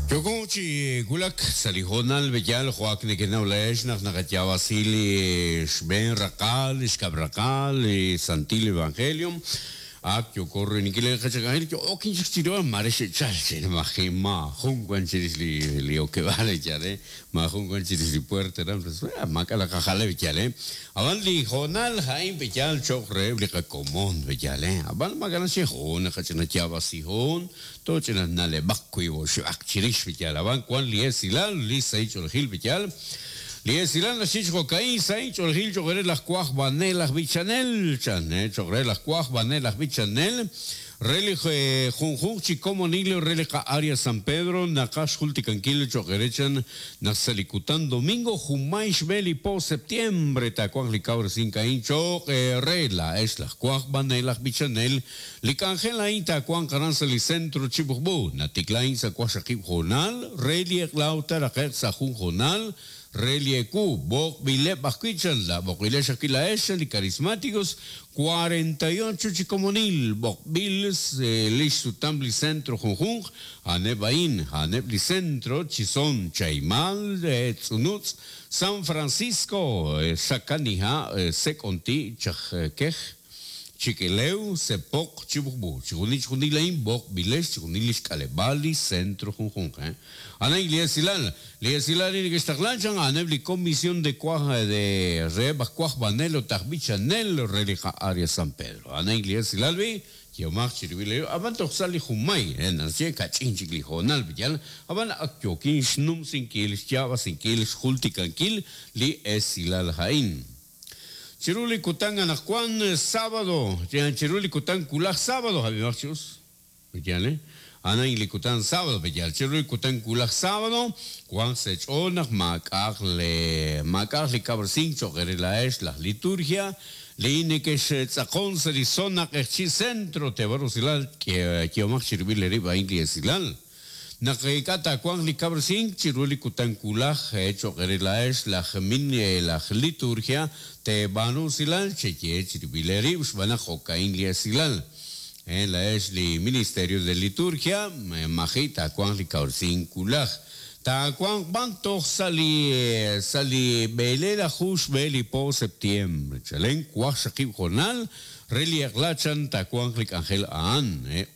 Yooko chi wulak sa' li hoonal b'eyal jo' ak nekenaw laa'ex naq naqayaab'asi li xb'een raqal, li xkab' raqal, li Santil Evangelio. Ak yooko royb'eninkil li qachak'anjel yo'okin chik chiru maare xe'chal chi maji' maajun wan chirix li li okeb'aal yaal eh, maajun wan chirix li puerta aran pues maak'a' naqajaleb' yaal eh. Ab'an li hoonal a'in b'eyal cho'q reheb' li qakomon b'eyal eh. Ab'an maak'a' naxye hoon naqach'ina yaab'asihon Toch'ina na'leb'aq wiib' oxib'aq chirix b'iyal ab'an wan li esilal li sahil ch'oolejil b'iyal. Li esilal naxye chi jo'ka'in, Sahil ch'oolejil cho'q re laj wajb'anel aj b'ichanel, chan, cho'q re laj wajb'anel aj b'ichanel re li junjunq chi komonil re li qa'área San Pedro naqaj xjultikankil cho'q re chan naq sa' li kutan domingo junmay xb'e li po septiembre taawanq li kawresink a'in cho'q eere laa'ex laj wajb'anel aj b'ichanel Li k'anjel a'in taawanq aran sa' li Centro Chibujbu, natikla a'in sa' waqxaqib' hoonal re li eq'la ut taaraqe'q sa' jun hoonal re li ewu. B'oqb'ileb' ajwi' chan la b'oqb'ilex ajwi' laa'ex chan li Carismáticos, 48 chi komonil b'oqb'il li xsutam li Centro junjunq, a'aneb' a'in, a'aneb' li Centro, Chison, Chaimal, Tz'unutz', San Francisco, Sakaniha', Sek'onti', Chajkej. Chik'elew, Sepoq, Chibujb'u, chixjunil chixjunil a'in b'oqb'ilex chixjunil li xk'aleb'aal li centro junjunq. A'an li esilal. Li esilal li neke'xtaqla chan a'aneb' li Comisión de Cuaj de reheb' aj Cuajb'anel ut aj B'ichanel re li qa'área San Pedro. A'an li esilal b'i', yehomaq chirib'il eerib' ab'an toj sa' li junmay, naxye kach'in chik li hoonal b'iyal, ab'an ak yookin xnumsinkil, xyaab'asinkil, xjultikankil li esilal a'in. Chiru li kutan anaqwan sábado, chiru li kutan wulaj sábado, ab'imaq chi us, yaal eh? A'an a'in li kutan sábado, pe'yaal? Chiru li kutan wulaj sábado, wanq sa' eech'ool naq maak'a'aq le maak'a'aq li kawresink cho'q eere laa'ex laj liturgia li nekextz'aqon sa' li zona Q'eqchi' Centro, teeb'ar usilal, yehomaq chirib'il eerib' a'in li esilal. Naq ink'a' taawanq li kawresink chiru li kutan wulaj, cho'q eere laa'ex laj min laj liturgia, teeb'aanu usilal, cheye chirib'il eerib' xb'aan naq jo'ka'in li esilal. Laa'ex li Ministerio de Liturgia, maji' taawanq li kawresink wulaj. Taawanq b'an toj sa' li sa' li b'eleelaju xb'e li po septiembre, chalen waqxaqib' hoonal Re li eq'la chan taawanq li k'anjel a'an,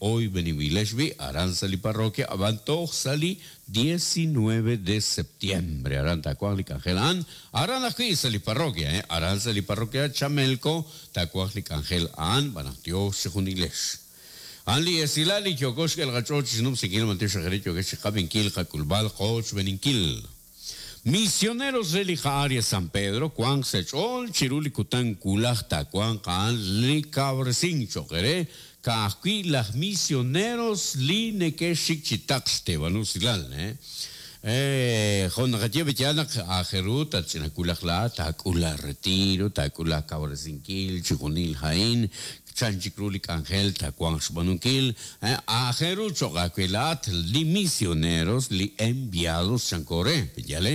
oyb'eninb'ilex b'i' aran sa' li parroquia ab'an toj sa' li 19 de septiembre aran taawanq li k'anjel a'an, aran ajwi' sa' li parroquia, aran sa' li parroquia Chamelco taawanq li k'anjel a'an b'an naq Dios chejunilex. A'an li esilal li yooko xk'el qach'ool chi xnumsinkil b'antiox aj re yookex chi qab'inkil qak'ulb'al qoochb'eninkil. Misioneros re li qa'área San Pedro wanq sa' ch'ool chiru li kutan wulaj taawanq a'an li kawresink cho'q eere ka'ajwi' laj misioneros li neke'xik chi taql xteeb'al usilal. Jo' naqaye b'eyaal naq aajel ru tatch'ina wulaj laa'at taak'ul laaretiro, taak'ul laakawresinkil chijunil a'in, Chan chik ru li k'anjel taawanq xb'aanunkil? Aajel ru cho'q aawe laa'at li misioneros, li enviados chanko re, pe'yaal?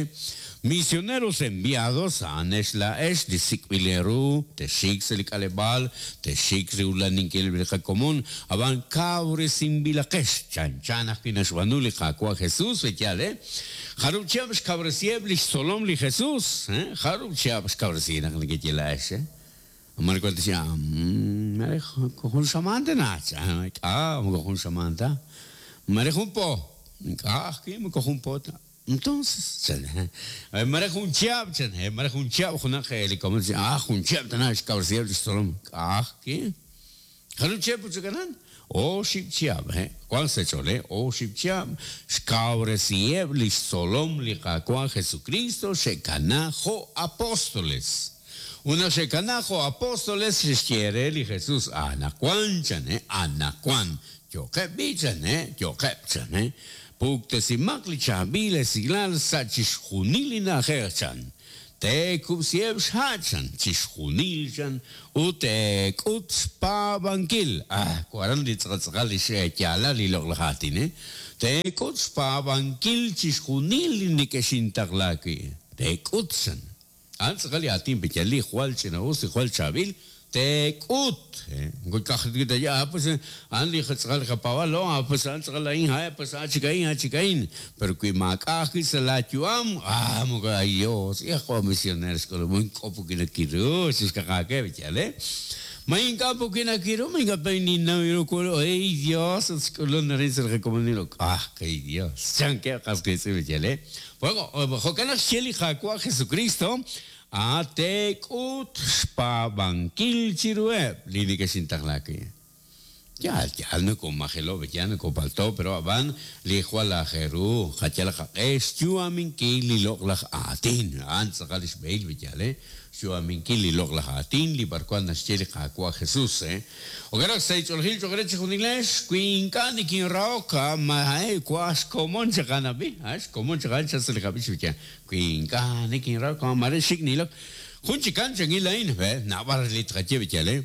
Misioneros enviados a'anex laa'ex li sik'b'il eeru, texxik sa' li k'aleb'aal, texxik riulaninkileb' li qakomon, ab'an kawresinb'ilaqex, chanchan ajwi' naxb'aanu li Qaawa' Jesus, pe'yaal? Jarub' chihab' xkawresiheb' li xtzolom li Jesus? Jarub' chihab' xkawresi naq nekeye laa'ex? Mare wan tixye, Mare jun xamaan tana, chan. Ink'a', moko jun xamaan ta. Mare jun po. Ink'a' ajwi', moko jun po ta. Entonces, chan. Mare jun chihab', chan. Mare jun chihab' junaq li komon tixye, Ah, jun chihab' tana xkawresiheb' lix tzolom. Ink'a' ajwi'. Jarub' chihab' ut chakanan? Oxib' chihab', he. Wank sa' ch'ool, he. Oxib' chihab' xkawresiheb' lix tzolom li Qaawa' Jesukristo xe'kana jo' apóstoles. Ut naq xe'kana jo' apóstoles, xe'xye re li Jesús, Anaqwan, chan, he, anaqwan. Yo'qeb' b'i', chan, he, yo'qeb', chan, he. Puktesimaq li chaab'il esilal sa' chixjunil li na'ajej, chan. Teekub'siheb' xha', chan, chixjunil, chan, ut teek'ut xpaab'ankil. Ah, waran li tz'aqal tz'aqal li xyaalal li loq'laj aatin, eh? Teek'ut xpaab'ankil chixjunil li nekexintaqla wi'. Teek'ut, chan. A'an tz'aqal li aatin pe'yaal li jwal ch'ina'us, li jwal chaab'il. Teek'ut. Ah, pues a'an li tz'aqal qapaab'aal, ah, pues a'an tz'aqal a'in, ah, pues a'an chik a'in, a'an chik a'in. Pero wi maak'a' ajwi' sa' laayu'am, ah, moko ay Dios, hijo misionero xk'ulub', ink'a' pukinakiru, xixkaqaakeb', yaal, eh? Ma ink'a' pukinakiru, ma ink'a' pa ninnaw ru kulo, ay Dios, ut xk'ulun arin sa' li qakomonil, ah, kay Dios, chankeb' qas qiitz'in, yaal, eh? Bueno, jo'kan naq xye li Qaawa' Jesucristo, A Teek'ut xpaab'ankil chiruheb' li nekexintaqla wi'. Yaal, yaal nokomajelo', yaal nokopalto', pero a'b'an li jwal aajel ru, qayal qaq'e xyu'aminkil li loq'laj aatin. A'an tz'aqal lix b'ehil, yaal, eh? Xyu'aminkil li loq'laj aatin, li b'arwan naxye li Qaawa' Jesus, eh? Jo'kan naq sa' ch'oolejil cho'q re chixjunilex, wi ink'a' nikinrahok, ma, eh, wa xkomon chaq a'an ab'i, ah, xkomon chaq a'an chaq sa' li qab'ich, yaal. Wi ink'a' nikinrahok, maare xik' nilok. Jun chikan chankil a'in, ve, naab'al li tqaye b'iyal, eh.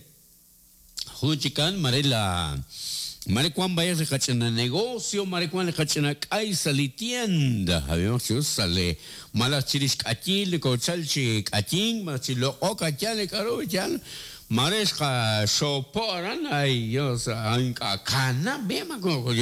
Jun chikan maare la maare wan b'ayaq li qach'ina negocio, maare wan li qach'ina k'ay sa' li tienda, ab'imaq chi us, sa' li malaj chirix k'ayiil nokochal chi k'ayink, malaj chi loq'ok a yaal li k'a'ru, yaal. Maare xqaxoopo' aran, ay Dios, ink'a' kanab' b'i' moko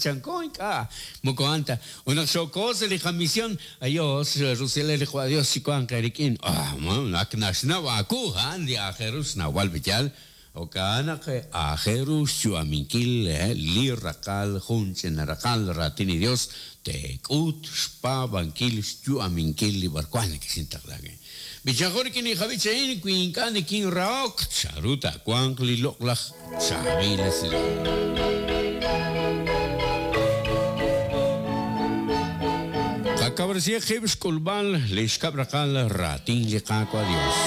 chanko ink'a' moko a'an ta. Ut naq xooko sa' li qamision, Dios, rusilal li Qwa' Dios chiwanq eerik'in. Ah, ak naxnaw aawu, a'an li aajel ru xnawb'al b'iyal. Jo'kan naq aajel ru xyu'aminkil li raqal jun ch'ina raqal raatin li Dios, teek'ut xpaab'ankil xyu'aminkil li b'arwan nekexintaqla wi'. B'ichanqo rik'in li qab'ich a'in, wi ink'a' nikinrahok, chanru taawanq li loq'laj chaab'il esilal? Qakawresihaq qib' xk'ulb'al li xkab' raqal raatin li Qaawa' Dios.